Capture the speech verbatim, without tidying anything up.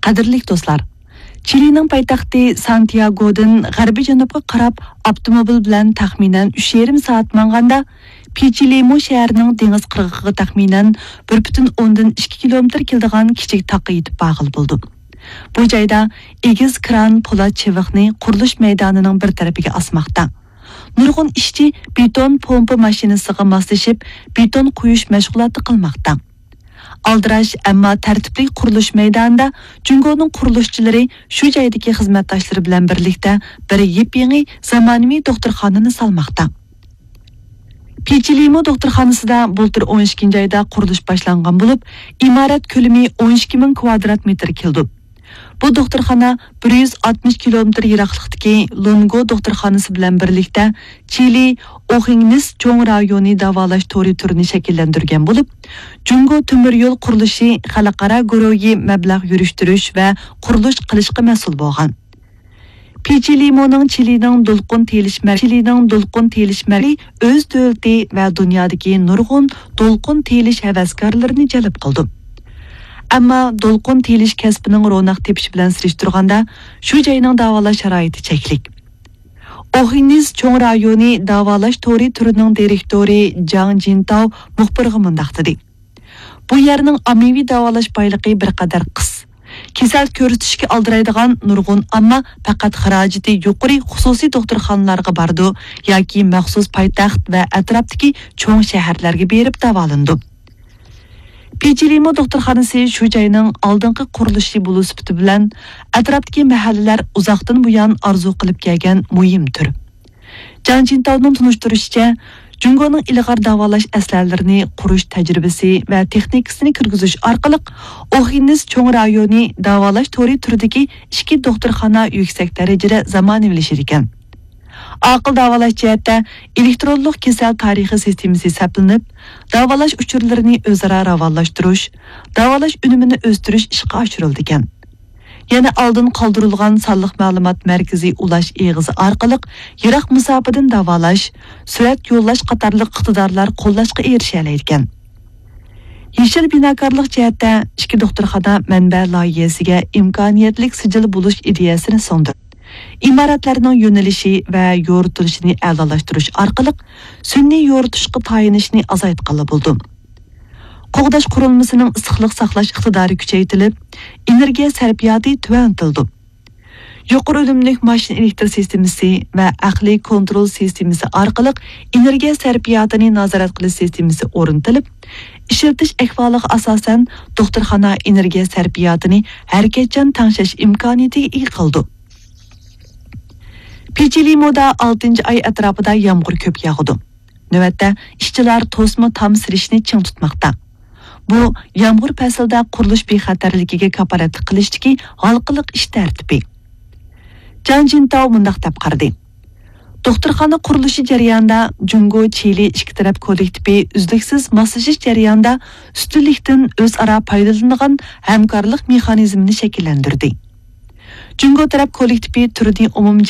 قەدىرلىك دوستلار، چىلىنىڭ پايتەختى سانتىياگودىن غەربىي جەنۇبقا قاراپ ئاپتوموبىل بىلەن تەخمىنەن ئۈچ يېرىم سائەت ماڭغاندا، پىچىلىمو شەھىرىنىڭ دېڭىز قىرغىقىغا تەخمىنەن بىر پۈتۈن ئوندىن ئىككى كىلومېتىر كېلىدىغان كىچىك تاغقا يېتىپ بارغىلى بولىدۇ. بۇ جايدا ئېگىز كران پولات چىۋىقنى قۇرۇلۇش مەيدانىنىڭ بىر تەرىپىگە ئاسماقتا. نۇرغۇن ئىشچى بېتون پومپا ماشىنىسىغا ماسلىشىپ، بېتون قۇيۇش مەشغۇلاتى قىلماقتا. ئالدىراش، ئەمما تەرتىپلىك قۇرۇلۇش مەيدانىدا جۇڭگونىڭ قۇرۇلۇشچىلىرى شۇ جايدىكى خىزمەتداشلىرى بىلەن بىرلىكتە بىر يېپيېڭى زامانىۋى دوختۇرخانىنى سالماقتا. پىچىلىمو دوختۇرخانىسىدا بۇلتۇر ئون ئىككىنچى ئايدا قۇرۇلۇش باشلانغان بولۇپ، ئىمارەت كۆلىمى ئون ئىككى مىڭ كۋادرات مېتىر كېلىدۇ. بۇ دوختۇرخانا بىر يۈز ئاتمىش كىلومېتىر يىراقلىقتىكى لۇنگو دوختۇرخانىسى بىلەن بىرلىكتە چىلى ئوخىڭنىس چوڭ رايونى داۋالاش تورى تۈرىنى شەكىللەندۈرگەن بولۇپ، جۇڭگو تۆمۈر يول قۇرۇلۇشى خەلقئارا گۇرۇھى مەبلەغ يۈرۈشتۈرۈش ۋە قۇرۇلۇش قىلىشقا مەسئۇل بولغان. پىچىلىمونىڭ چىلىنىڭ دولقۇن تېيىلىش مەر-، چىلىنىڭ دولقۇن تېيىلىش مەركىزى ئۆز دۆلىتى ۋە دۇنيادىكى نۇرغۇن دولقۇن تېيىلىش ھەۋەسكارلىرىنى جەلپ قىلىدۇ. ئەمما دولقۇن تېيىلىش كەسپىنىڭ روناق تېپىشى بىلەن سېلىشتۇرغاندا، شۇ جاينىڭ داۋالاش شارائىتى چەكلىك. ئوخىنىس چوڭ رايونى داۋالاش تورى تۈرىنىڭ دىرېكتورى جاڭ جىنتاۋ مۇخبىرغا مۇنداق دېدى: بۇ يەرنىڭ ئاممىۋى داۋالاش بايلىقى بىر قەدەر قىس. كېسەل كۆرسىتىشكە ئالدىرايدىغان نۇرغۇن ئامما پەقەت خىراجىتى يۇقىرى خۇسۇسىي دوختۇرخانىلارغا بارىدۇ ياكى مەخسۇس پايتەخت ۋە ئەتراپتىكى چوڭ شەھەرلەرگە بېرىپ داۋالىنىدۇ. پىچىلىمو دوختۇرخانىسى شۇ جاينىڭ ئالدىنقى قۇرۇلۇشى بولۇش سۈپىتى بىلەن، ئەتراپتىكى مەھەللىلەر ئۇزاقتىن بۇيان ئارزۇ قىلىپ كەلگەن مۇھىم تۈر. جاڭ جىنتاۋنىڭ تونۇشتۇرۇشىچە، جۇڭگونىڭ ئىلغار داۋالاش ئەسلىھەلىرىنى قۇرۇش تەجرىبىسى ۋە تېخنىكىسىنى كىرگۈزۈش ئارقىلىق، ئوخىنىس چوڭ رايونى داۋالاش تورى تۈرىدىكى ئىككى دوختۇرخانا يۈكسەك دەرىجىدە زامانىۋىلىشىدىكەن. ئاقىل داۋالاش جەھەتتە ئېلېكترونلۇق كېسەل تارىخى سىستېمىسى سەپلىنىپ، داۋالاش ئۇچۇرلىرىنى ئۆزئارا راۋانلاشتۇرۇش، داۋالاش ئۈنۈمىنى ئۆستۈرۈش ئىشقا ئاشۇرۇلىدىكەن. يەنە ئالدىن قالدۇرۇلغان سانلىق مەلۇمات مەركىزى ئۇلاش ئېغىزى ئارقىلىق يىراق مۇساپىدىن داۋالاش، سۈرەت يوللاش قاتارلىق ئىقتىدارلار قوللاشقا ئېرىشەلەيدىكەن. يېشىل بىناكارلىق جەھەتتە ئىككى دوختۇرخانا مەنبە لايىھەسىگە ئىمكانىيەتلىك سىجىل بولۇش ئىدىيەسىنى سۇندى. ئىمارەتلەرنىڭ يۆنىلىشى ۋە يورۇتۇلۇشىنى ئەلالاشتۇرۇش ئارقىلىق سۈنئىي يورۇتۇشقا تايىنىشنى ئازايتقىلى بولىدۇ. قوغداش قۇرۇلمىسىنىڭ ئىسسىقلىق ساقلاش ئىقتىدارى كۈچەيتىلىپ، ئېنېرگىيە سەرپىياتى تۆۋەنلىتىلىدۇ. يۇقىرى ئۈنۈملۈك ماشىنا ئېلېكتر سىستېمىسى ۋە ئەقلىي كونترول سىستېمىسى ئارقىلىق ئېنېرگىيە سەرپىياتىنى نازارەت قىلىش سىستېمىسى ئورنىتىلىپ، ئىشلىتىش ئەھۋالىغا ئاساسەن، دوختۇرخانا ئېنېرگىيە سەرپىياتىنى ھەرىكەتچان تەڭشەش ئىمكانىيىتىگە ئىگە قىلىدۇ. پىچىلىمودا ئالتىنچى ئاي ئەتراپىدا يامغۇر كۆپ ياغىدۇ. نۆۋەتتە، ئىشچىلار توسما تام سېلىشنى چىڭ تۇتماقتا. بۇ، يامغۇر پەسلىدە قۇرۇلۇش بىخەتەرلىكىگە كاپالەتلىك قىلىشتىكى ھالقىلىق ئىش تەرتىپى. جاڭ جىنتاۋ مۇنداق دەپ قارىدى: دوختۇرخانا قۇرۇلۇشى جەريانىدا جۇڭگو چىلى ئىككى تەرەپ كوللېكتىپى ئۈزلۈكسىز ماسلىشىش جەريانىدا ئۈستۈنلۈكتىن ئۆزئارا پايدىلىنىدىغان ھەمكارلىق مېخانىزمىنى شەكىللەندۈردى. جۇڭگو تەرەپ كوللېكتىپى تۈرنى ئومۇمجەمئىي